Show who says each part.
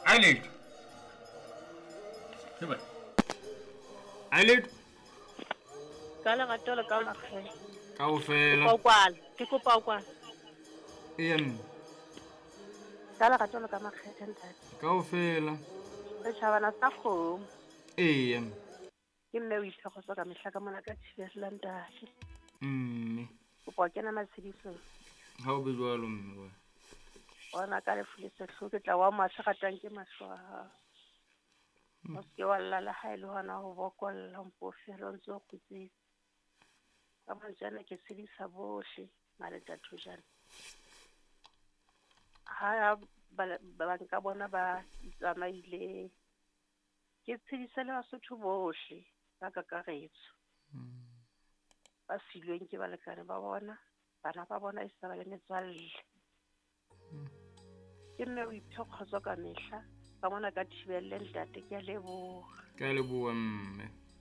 Speaker 1: Ai letho. Ai letho.
Speaker 2: Ka lerato le ka makgele.
Speaker 1: Kaofela.
Speaker 2: Kopa o kwala. Ke kopa o kwala.
Speaker 1: Eya mme.
Speaker 2: Ka lerato le ka makgethe ntate.
Speaker 1: Kaofela.
Speaker 2: Setjhabana sa kgomo.
Speaker 1: Eya.
Speaker 2: Ke mme o iphe kgotso ka mehla ka mona ka thibela ntate.
Speaker 1: Mme.
Speaker 2: Kopa o kena matshedisong.
Speaker 1: Ha o be jwalo mme wa.
Speaker 2: Bona ka lefu le sehloho ke tla wa mahlo ratang ke mahlo a hao. O se ke wa lla le ha e le hona ho bokolla mpo fela o ntse o kgutsitse. Ka mantswe ana ke tshedisa bohle maletatho jana. Ha ba nka bona ba tsamaile. Ke tshedise le Basotho bohle ka kakaretso. Ba silweng ke balekane ba bona, bana ba bona e sa ba le metswalle. Ke mme o iphe kgotso ka mehla. Ka mona ka thibelle ntate ke a leboha.
Speaker 1: Ke a leboha mme.